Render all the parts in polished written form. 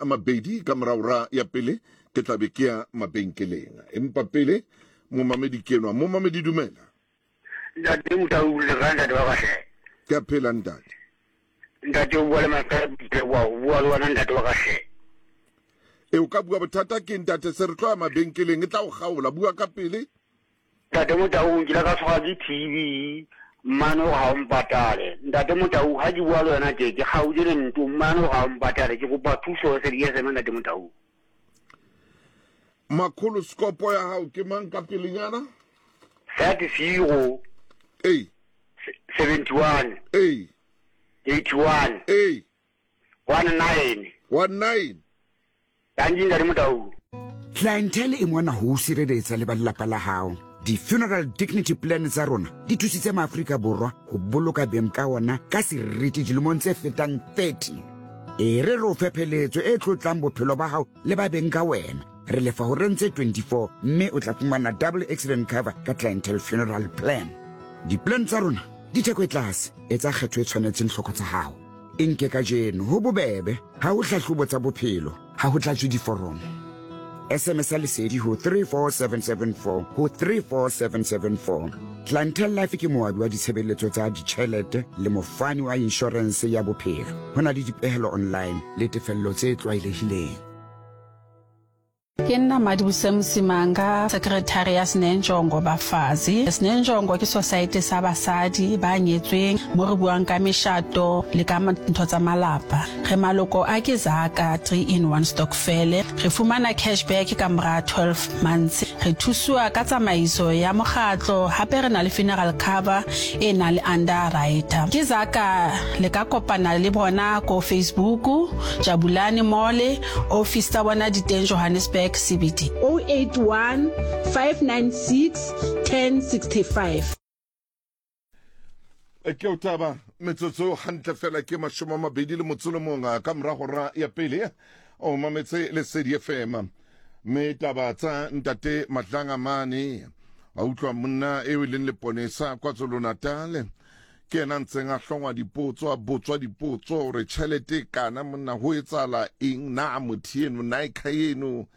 a mabedi ka mora ora ya pele ke tla be ke ya mabenkeleng. Empa pele momamedi ke enwa. Momamedi dumela. Ntate Motau le kae ntate wa ka hle? Ke a phela ntate. Ntate o bua le Maqai wa o bua le wena ntate wa ka hle. E o ka bua bothata ke ntate se re tlo ya mabenkeleng e tla o kgaola bua ka pele. Ntate Motau nkile ka tshwarwa ke TB mmane o ga o mpatale. Ntate Motau ha ke bua le wena tje ke kgaotse le nto mmane o ga o mpatale ke kopa thuso se di SM ntate Motau. Makholo skopo ya hao ke mang ka pelenyana? 30 Ei. 71 Ei. 81 Ei. 19 19. Dankie ntate Motau. Clientele e mona ho o sireletsa le ba lelapa la hao. Di-funeral dignity plan tsa rona di thusitse maAfrika Borwa ho boloka beng ka ona ka seriti dilemong tse fetang 30. E re re o fe pheletso e tlotlang bophelo ba hao le ba beng ka wena. Re lefa horeng tse 24 mme o tla fumana double accident cover ka Clientele Funeral Plan. Di-plan tsa rona di theko e tlase, etsa kgetho e tshwanetseng tlhoko tsa hao. E nke kajeno, ho bobebe, ha ho hlahlobo tsa bophelo, ha ho tlatswe diforomo. SMS ya Lesedi ho 34774 ho 34774. Clientele Life ke moabi wa ditshebeletso tsa ditjhelete le mofani wa inshorense ya bophelo. Ho na le dipehelo online le tefello tse tlwaelehileng. Ke nna Madibuse Msimanga, Secretary ya Sinenjongo Bafazi. Sinenjongo ke society sa basadi ba nyetsweng mo re buang ka meshato le ka ntho tsa malapa. Re maloko a ke Zaka 3 in 1 Stokfele. Re fumana cash back ka mora 12 months. Re thusiwa ka tsamaiso ya mokgatlo hape re na le funeral cover e nang le underwriter. Ke Zaka le ka kopana le bona ko Facebook, Jabulani Mall, Office tsa bona di teng Johannesburg CBD. 081 596 1065. Ke o taba metsotso hantle fela ke 21 ka morago ra ya pele o mametse Lesedi FM mme taba tsa ntate Matlanga mane a utlwa monna eo e leng leponesa KwaZulu-Natal Ke yena a ntseng a hlongwa dipotso, a botswa dipotso gore tšhelete e kana monna go etsala eng, na motho eno, na e eno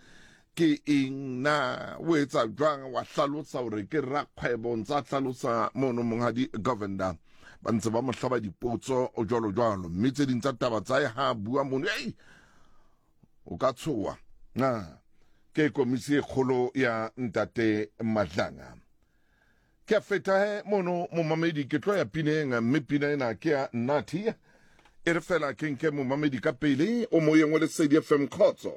ke eng, na o etsa jwang, wa hlalosa gore ke rakgwebo, ntse a hlalosa mono monghadi Govender. Ba ntse ba mo hlaba dipotso jwalo jwalo, mme tse ding tsa taba tsa ha bua mono, ei o ka tshoa. Na ke komisi e kgolo ya ntate Madlanga. Ke a feta he mono momamedi ke tlo ya pineng mme pina ena ke ya Nathi e re fela ke nke momamedi ka pele o moyeng wa Lesedi FM khotso.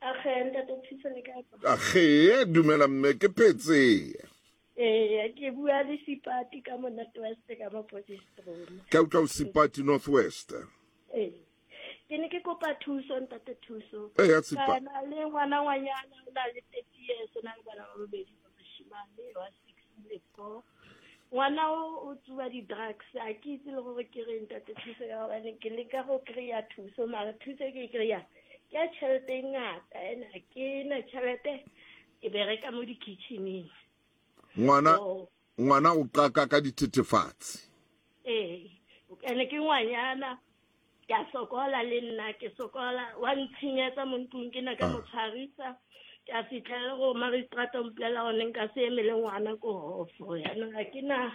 Age ntate Thuso le kae? Age dumela mme ke phetse. Ee ke bua le Sipati ka mo North West ka mo Potchefstroom. Ke utlwa o Sipati North West. Ee. Ke ne ke kopa thuso ntate Thuso. Ee Sipati. Ka na le ngwana ngwanyana o na le 30 years o na le bana ba babedi ba bashimane wa 6 le 4. Ngwana o o tsuba di-drugs a ke itse le gore ke reng ntate Thuso ya gobane ke leka go kry-a thuso mara thuso e ke e kry-ang ke ya tšhelete e ngata ene ga ke na tšhelete ke bereka mo di-kitcheneng. Ngwana ngwana o qaka ka dithethefatsi. Ee ene ke ngwanyana ke a sokola le nna ke sokola wa ntshenyetsa mo ntlong ke na ka mo tshwarisa ke a fitlhela go magistrata o mpolelela gore nka se emele ngwana ko hofo yaanong ga ke na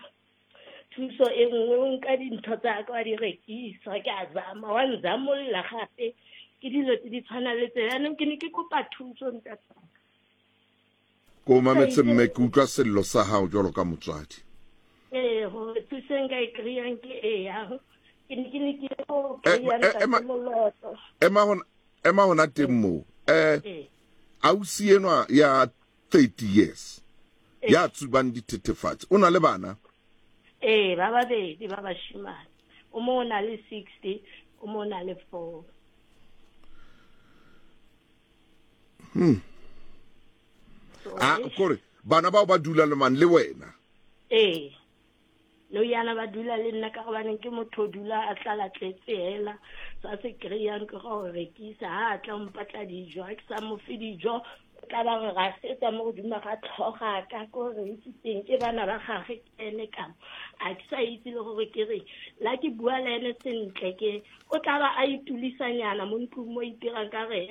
thuso e nngwe o nka dintho tsa ka wa di rekisa ke a zama wa nzamolola gape ke dilo tse di tshwana le tse yaanong ke ne ke kopa thuso ntate Ko mametse mme ke utlwa sello sa hao jwalo ka motswadi. Ee, gore thuso e nka e kry-ang ke e yang. Ke ne ke ne ke go kry-a ntate Moloto. Ema hona ema hona teng moo. Eh ausi enwa ya 30 years ya tsubang dithethefatsi o na le bana? Ee, ba babedi ba bashimane. O mongwe o na le 60, o mongwe o na le 4. A kore bana bao ba dula le mang le wena? Ee, no yana ba dula le nna ka gobaneng ke motho o dula a tlala tletse hela sa se kry-ang ke go rekisa ha a tla mpatla dijo ha ke sa mo fe dijo o tla ba re rasetsa mo godimo ga tlhoga ka ko re itse teng ke bana ba gage ke ene kamo a ke sa itse le gore ke re la ke bua le ene sentle ke o tla ba a itulisanyana mo ntlong mo itirang ka re.